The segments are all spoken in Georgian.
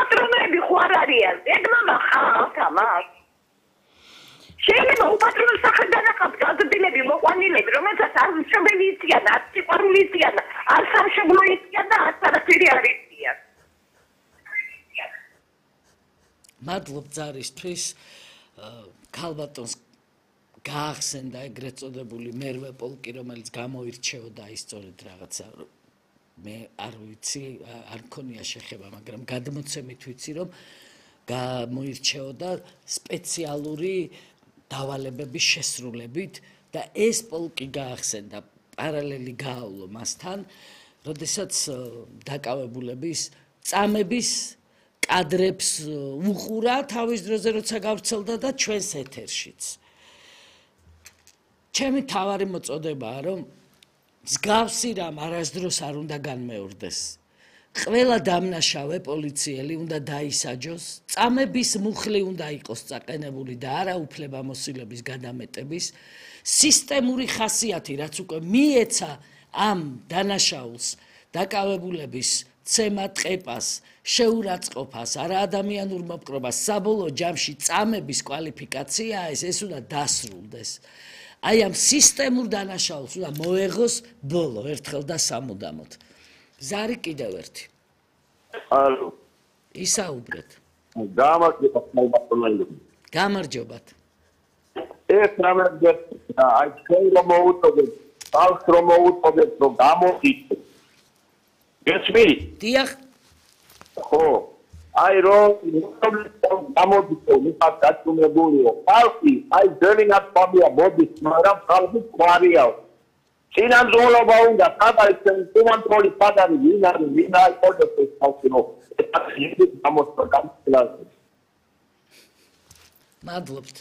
უპატრონოები ხო არ არიან? ეგ მამა ხალხა მას. შეიძლება უპატრონო სახელიდან აყავთ გაზრდილები, მოყვანილები, რომელსაც არ მშობელი იციან, არ სიყვარული იციან, არ სამშობლო იციან და არც არაფერი არ იციან. მადლობ ძარისთვის. ქალბატონს გაახსენდა ეგრეთ წოდებული მერვე პოლკი, რომელიც გამოირჩეოდა ის სწორედ რაღაცა მე არ ვიცი, არ მქონია შეხება, მაგრამ გადმოცემით ვიცი, რომ გამოირჩეოდა სპეციალური დავალებების შესრულებით და ეს პოლკი გაახსენდა პარალელი გაავლო მასთან, როდესაც დაკავებულების წამების კადრებს უყურა თავის დროზე, როცა გავრცელდა და ჩვენს ეთერშიც. ჩემი თავარი მოწოდებაა, რომ მსგავსი რამ არასდროს არ უნდა განმეორდეს. ყველა დამნაშავე პოლიციელი უნდა დაისაჯოს, წამების მუხლი უნდა იყოს წაყენებული და არა უფლებამოსილების გადამეტების, სისტემური ხასიათი, რაც უკვე მიეცა ამ დანაშაულს, დაკავებულების ცემა ტყეპას, შეურაცხყოფას, არაადამიანურ მოპყრობას, საბოლოო ჯამში წამების კვალიფიკაციაა ეს უნდა დასრულდეს. აი ამ სისტემურ დანაშაულს უნდა მოეღოს ბოლო ერთხელ და სამუდამოდ. ზარი კიდევ ერთი. ალო. ისაუბრეთ. გამარჯობათ. ეს რამე აი ჩვენ რომ მოუწოდეთ, ხალხს რომ მოუწოდეთ, რომ გამოიხდეთ. გესმით? დიახ. ხო. აი რომ გამოდის მიხარ დაწუნებულიო. ხალხი აი ძელი ნაცნობია მოდის, მაგრამ ხალხი ყარია. სინამდვილეობა უნდა სადაც კონტროლი პატარი ვინ არის ვინ არ ყოლებს ეს ხალხი რომ ეს გამოსწორდა. მადლობთ.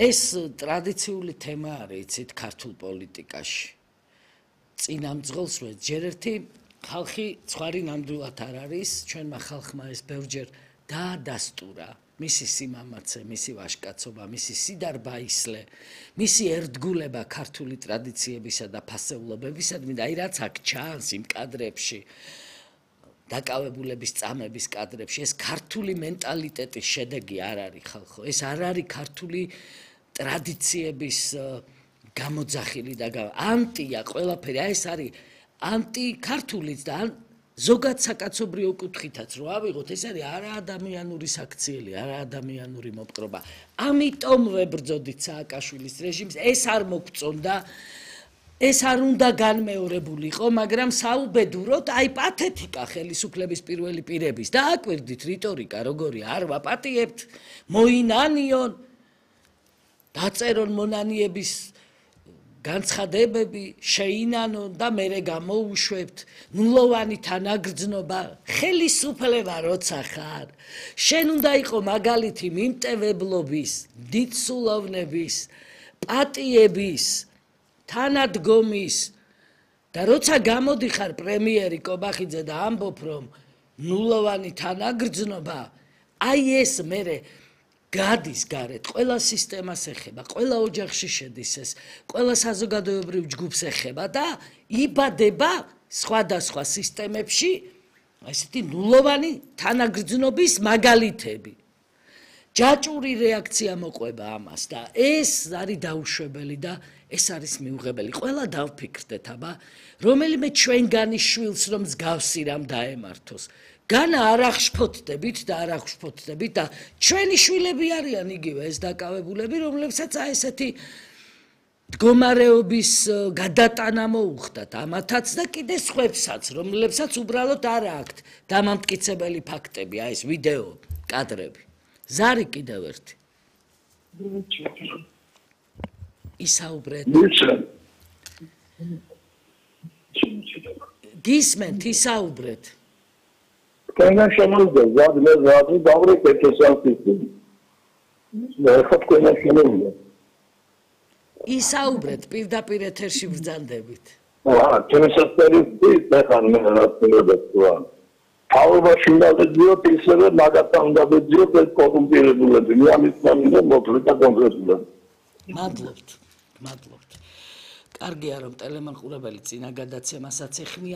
ეს ტრადიციული თემა არის, იცით, ქართულ პოლიტიკაში. წინამძღოლს ჯერ ერთი ხალხი ცხვარი ნამდვილად არ არის, ჩვენმა ხალხმა ეს ბევრჯერ დაადასტურა. მისი სიმამაცე, მისი ვაჟკაცობა, მისი სიდარბაისლე, მისი ერთგულება ქართული ტრადიციებისა და ფასეულობებისადმი და აი რაც აქ ჩანს იმ კადრებში, დაკავებულების წამების კადრებში, ეს ქართული მენტალიტეტის შედეგი არ არის ხალხო, ეს არ არის ქართული ტრადიციების გამოძახილი და ანტია ყველაფერი, აი ეს არის ანტიქართულიც და ზოგად საკაცობრიო კუთხითაც რო ავიღოთ, ეს არის არაადამიანური საქციელი, არაადამიანური მოპყრობა. ამიტომ ვებრძოდით სააკაშვილის რეჟიმს, ეს არ მოგწონდა, ეს არ უნდა განმეორებულიყო, მაგრამ საუბედუროდ აი პათეტიკა ხელისუფლების პირველი პირების და აკვირდით რიტორიკა როგორი არ ვაპატიებთ, მოინანიონ, დაწერონ მონანიების განცხადებები, შეინანონ და მერე გამოუშვებთ, ნულოვანი თანაგრძნობა, ხელისუფლება როცა ხარ, შენ უნდა იყო მაგალითი მიმტევებლობის, დიდსულოვნების, პატიების, თანადგომის და როცა გამოდიხარ პრემიერი კობახიძე და ამბობ რომ ნულოვანი თანაგრძნობა, აი ეს მერე გადის გარეთ, ყველა სისტემას ეხება, ყველა ოჯახში შედის ეს, ყველა საზოგადოებრივ ჯგუფს ეხება და იბადება სხვადასხვა სისტემებში ესეთი ნულოვანი თანაგრძნობის მაგალითები. ჯაჭვური რეაქცია მოყვება ამას და ეს არის დაუშვებელი და ეს არის მიუღებელი. ყველა დავფიქრდეთ, აბა, რომელიმე ჩვენგანის შვილს რომ მსგავსი რამ დაემართოს. განა არ აღშფოთდებით და არ აღშფოთდებით და ჩვენი შვილები არიან იგივე ეს დაკავებულები, რომლებსაც აი ესეთი მდგომარეობის გადატანა მოუხდათ ამათაც და კიდე სხვებსაც, რომლებსაც უბრალოდ არ აქვთ დამამტკიცებელი ფაქტები, აი ეს ვიდეო კადრები. ზარი კიდევ ერთი. ისაუბრეთ. გისმენთ, ისაუბრეთ. Când așa nu de zad, le zad, dar vrei că ce să fiți. Ne fac cu ne și nu. ისაუბრეთ, პირდაპირ ეთერში ბრძანდებით. Ce mi se speriți, pe care mi l-a spus de tuan. Aurbaşı da diyor, pisere nagatan da diyor, pe korumpirebulebi. Yani İslam'ın motorika konkretule. მადლობთ. კარგია რომ ტელემონყურებელი წინა გადაცემასაც ეხმიან